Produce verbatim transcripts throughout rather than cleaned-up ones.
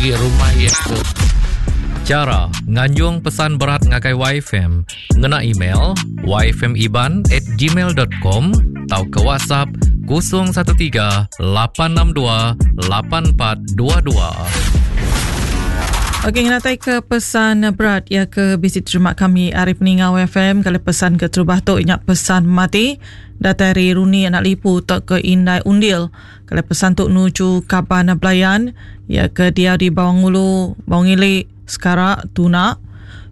agi rumah iya ke Cara nganjung pesan berat ngagai Y F M ngena email y f m iban at gmail dot com atau ke WhatsApp kosong satu tiga lapan enam dua lapan empat dua dua. Okey, ngatai ke pesan berat ya ke bisi terima kami ari peninggal Y F M kalau pesan ke terubah tu ingat pesan mati datai ari Runi anak lipu tok ke Indai Undil. Kalau pesan tu nuju kaban belayan ya ke dia di Bawang Ulu, Bawang Ilik, Sekarak, Tuna,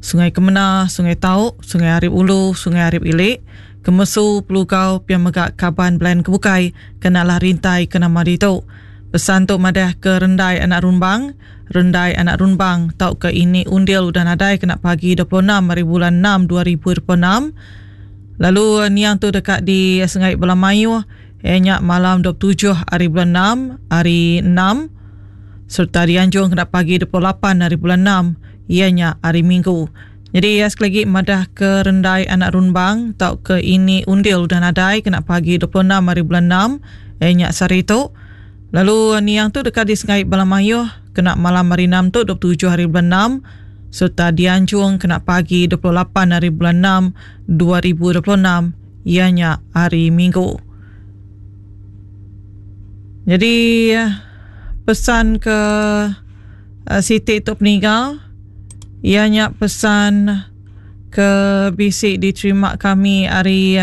Sungai Kemena, Sungai Tau, Sungai Arip Ulu, Sungai Arip Ilik, Kemesu, Pelugau, pian megak kaban belayan kebukai kenalah rintai ke nama ditu. Pesan tu madah ke rendai anak rumbang, rendai anak rumbang tau ke ini undil udah nadai kena pagi dua puluh enam hari bulan enam dua ribu dua puluh enam. Lalu niang tu dekat di Sungai Belamayuh, ianya malam dua puluh tujuh hari bulan enam, hari enam serta dianjung kena pagi dua puluh lapan hari bulan enam, ianya hari Minggu. Jadi ya, sekali lagi madah ke rendai anak rumbang tau ke ini undil udah nadai kena pagi dua puluh enam hari bulan enam, ianya sehari tu. Lalu niang tu dekat di Sungai Belamayuh kena malam hari enam tu dua puluh tujuh hari bulan enam serta dianjung kena pagi dua puluh lapan hari bulan enam dua ribu dua puluh enam, ianya hari Minggu. Jadi pesan ke, uh, Siti tu peninggal, ianya pesan ke bisi diterima kami hari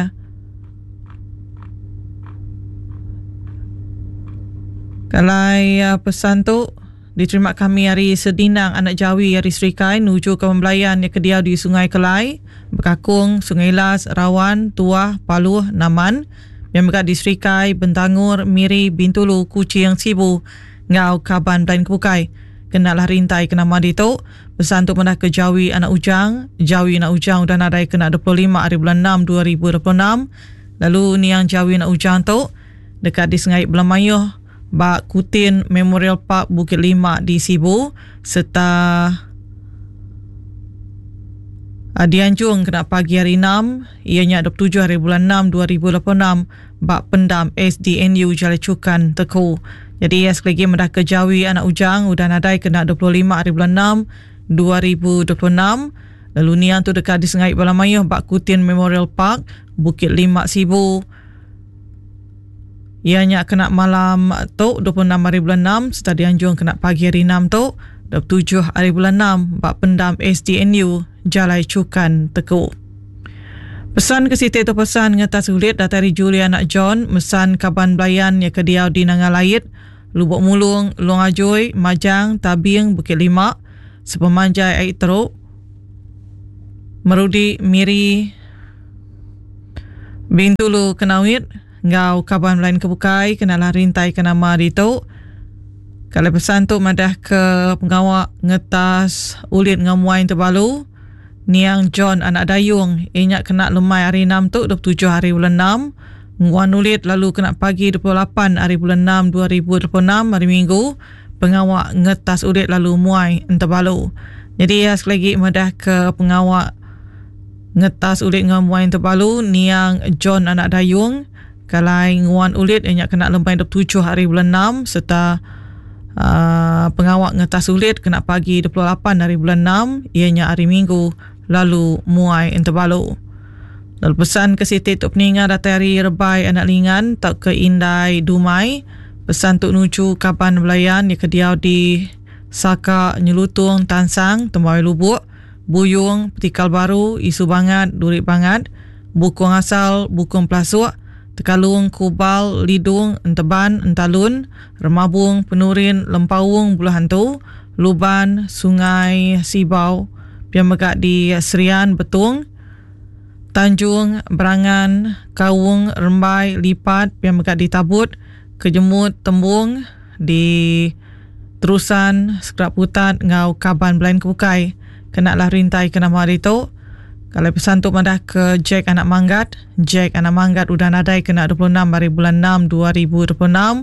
Kalai, uh, pesan tu diterima kami hari Sedinang Anak Jawi hari Serikai nuju ke pembelayan yang kediau di Sungai Kelai, Bekakung, Sungai Las, Rawan, Tuah, Paluh, Naman, yang berada di Serikai, Bentangur, Miri, Bintulu, Kuching, Sibu, Ngau, Kaban, dan Kebukai. Kenalah rintai ke nama ditu. Pesan tu pernah ke Jawi Anak Ujang. Jawi Anak Ujang udah nadai kena dua puluh lima hari bulan enam dua ribu dua puluh enam. Lalu niang Jawi Anak Ujang tu dekat di Sungai Belamayuh, Bak Kutin Memorial Park Bukit Lima di Sibu serta dianjung kena pagi hari enam, ianya dua puluh tujuh hari bulan enam dua ribu dua puluh enam bak pendam S D N U Jalai Cukan Teku. Jadi ya, sekali lagi mendah ke Jawi Anak Ujang udah nadai kena dua puluh lima hari bulan enam dua ribu dua puluh enam. Lalu niang tu dekat di Sungai Belamayuh bak Kutin Memorial Park Bukit Lima Sibu. Ianya kena malam tu dua puluh enam hari bulan enam serta dianjung kena pagi hari enam tu dua puluh tujuh hari bulan enam bak pendam S D N U Jalai Cukan Teku. Pesan ke Siti tu pesan ngetas ulit datai dari Julia anak John mesan kaban belayan yang kediau di Nanga Lait, Lubuk Mulung, Long Ajoi, Majang, Tabing, Bukit Lima, Sepemanjai Air Teruk, Merudi, Miri, Bintulu, Kenawit, ngau kaban lain kebukai kenalah rintai ke nama ditu. Kalau pesan tu madah ke pengawak ngetas ulit ngamuai terbalu niang John anak Dayung inyak kena lemai hari enam tu dua puluh tujuh hari bulan enam nguan ulit lalu kena pagi dua puluh lapan hari bulan enam dua ribu dua puluh enam hari Minggu pengawak ngetas ulit lalu muai enterbalu. Jadi ya, sekali lagi madah ke pengawak ngetas ulit ngamuai terbalu niang John anak Dayung kalai nguan ulit inyak kena lemai dua puluh tujuh hari bulan enam serta uh, pengawak ngetas ulit kena pagi dua puluh lapan hari bulan enam ianya hari Minggu lalu muai enterbalu. Lalu pesan ke Siti Tok Peninga datai hari Rebai Anak Lingan tak ke Indai Dumai. Pesan tuk nuju kaban belayan yang kediau di Saka Nyelutung Tansang Tembawai Lubuk Buyung Petikal Baru Isu Bangat Durik Bangat Bukung Asal Bukung Pelasuk Tekalung Kubal Lidung Enteban Entalun Remabung Penurin Lempawung Buluh Hantu Luban Sungai Sibau Pian megak di Serian Betung Tanjung Berangan Kaung Rembai Lipat Pian megak di Tabut Kejemut Tembung di Terusan Sekerap Putat ngau Kaban Belain Kebukai. Kenalah rintai ke nama hari tu. Kalau pesan tu madah ke Jack Anak Manggat. Jack Anak Manggat udah nadai kena dua puluh enam hari bulan enam dua ribu dua puluh enam.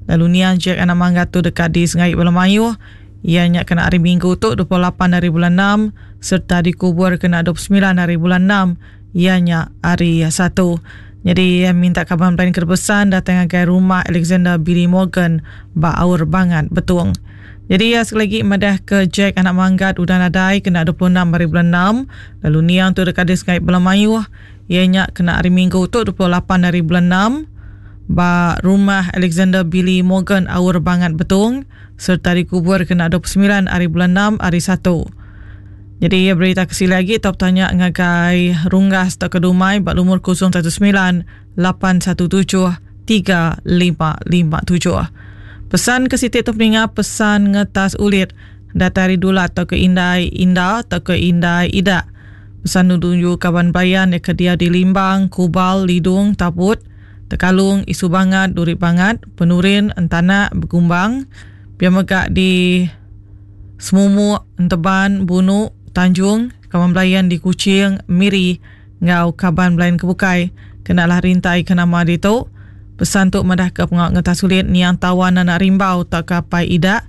Lalu niang Jack Anak Manggat tu dekat di Sungai Belamayuh. Ianya kena hari Minggu tu dua puluh lapan hari bulan enam serta dikubur kena dua puluh sembilan hari bulan enam. Ianya hari Satu. Jadi minta kaban lain kerbesan datang ke rumah Alexander Billy Morgan ba Aur Bangat Betung. Jadi ya sekali lagi madah ke Jack anak manggat udah nadai kena dua puluh enam hari bulan enam, lalu niang tu dekat di Sungai Belamayuh ianya kena hari Minggu tu dua puluh lapan hari bulan enam ba rumah Alexander Billy Morgan Aur Bangat Betong serta dikubur kena dua puluh sembilan hari bulan enam hari Satu. Jadi ya berita kesili lagi top tanya ngagai Runggas atau Kedumai ba lumur kosong satu sembilan lapan satu tujuh tiga lima lima tujuh. Pesan ke Siti tu peninga pesan ngetas ulit datari dula atau ke indai inda atau ke indai ida. Pesan nuju kawan bayan ke dia di Limbang, Kubal, Lidung, Taput, Tekalung, Isu Bangat, Duri Bangat, Penurin, Entanak, Begumbang, pia mega di Semumuk, Enteban, Bunu, Tanjung, kawan belayan di Kuching, Miri, ngau kaban belayan kebukai. Kenalah rintai ke nama ditu. Pesan tu madah ke pengawak ngetas sulit niang tawan anak rimbau tak kapai idak.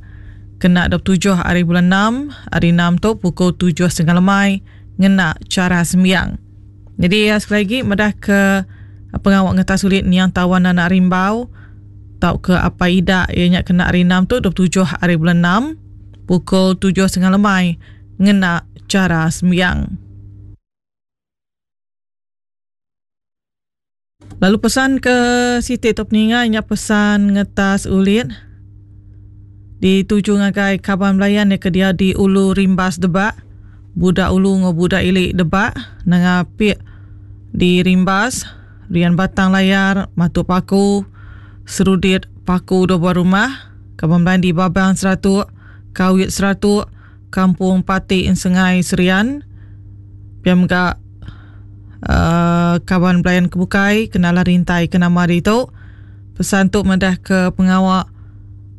Kena dua puluh tujuh hari bulan enam, hari enam tu pukul tujuh setengah lemai ngena cara sembiang. Jadi ya, sekali lagi madah ke pengawak ngetas sulit niang tawan anak rimbau tau ke apa idak ianya kena hari enam tu dua puluh tujuh hari bulan enam pukul tujuh setengah lemai ngena cara sembiang. Lalu pesan ke Siti tu peninga nya pesan ngetas ulit dituju ngagai kaban belayan ke dia di Ulu Rimbas Debak, budak Ulu ngo budak Ilik Debak, nengapik di Rimbas, Rian Batang Layar, Matu Paku, Serudit Paku dua buah rumah, kaban belayan di Babang Seratuk, Kawit Seratuk, Kampung Pati Sengai Serian, piam gak Uh, kawan belayan kebukai kenalah rintai ke nama itu. Pesan tu madah ke pengawak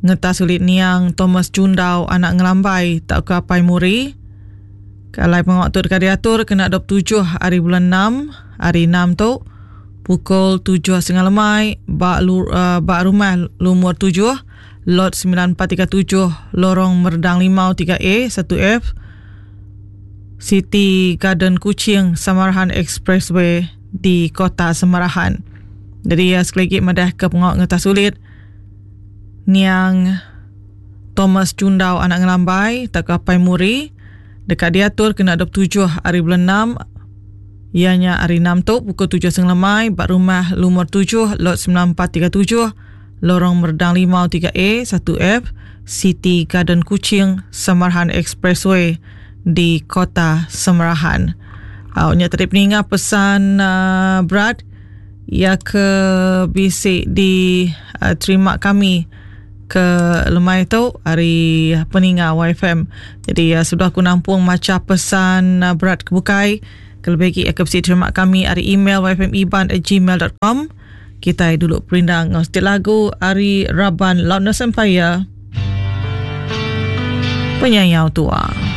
ngetas ulit niang Thomas Jundau anak ngelambai tak ke apai muri. Kalau pengawak tu dekat diatur kena dua puluh tujuh hari bulan enam, hari enam tu pukul tujuh setengah lemai bak lu, uh, bak rumah lumur tujuh lot sembilan empat tiga tujuh Lorong Merdang Limau tiga A satu F City Garden Kuching Samarahan Expressway di Kota Samarahan. Jadi ya, sekali lagi madah ke pengawak ngetas sulit niang Thomas Jundau anak ngelambai tak kapai muri dekat diatur kena dua puluh tujuh hari bulan enam ianya hari enam tu pukul tujuh setengah lemai bak rumah lumur tujuh lot sembilan empat tiga tujuh Lorong Merdang Limau tiga A satu F City Garden Kuching Samarahan Expressway di Kota Samarahan. Awaknya tadi peninga pesan uh, berat ia ke bisik di uh, terima kami ke lemai tu hari peninga Y F M. Jadi uh, sudah aku nampung maca pesan uh, berat kebukai. Kelebih lagi ke bisik terima kami hari email y f m iban at gmail dot com. Kita dulu perindang ngostik lagu hari Raban Loudness Empire Penyayau Tua.